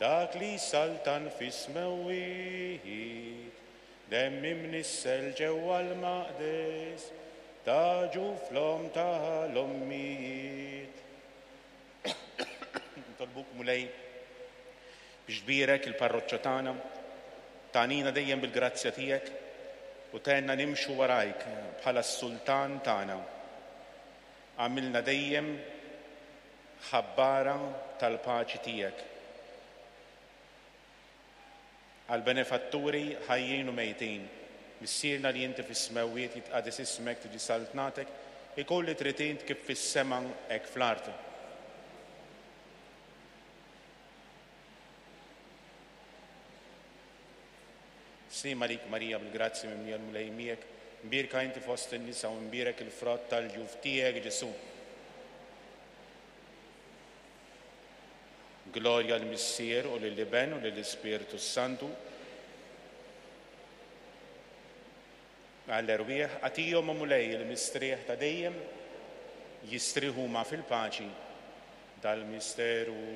Dak li jsaltan fis-smewwiet, demm imnissel ġewwa l-maqdes, ta' ġuf l-omm tal-ommijiet. Nitolbuk Mulej biex tbierek il-parroċċa tagħna, tagħnina dejjem bil-grazzja tiegħek u tgħinna nimxu warajk bħala s-sultan tagħna. Agħmilna dejjem ħabbara tal-paċi tiegħek. Għall-benefatturi ħajjin u mejtin, Missierna li inti fis-smewwiet jitqades ismek tiġi saltnatek, ikun li trid int kif fis-sema hekk fl-art. Sliem għalik Marija bil-grazzja mimlija l-Mulej miegħek, mbierka inti fost in-nisa u mbierek il-frott tal-ġuf tiegħek Ġesù. Glorja l-Missier u lill-Iben u lill-Ispirtu s-Santu. Għall-erwieħ, agħtihom, o Mulej, il-mistrieħ ta' dejjem, jistrieħu huma fil-paċi dal-misteru.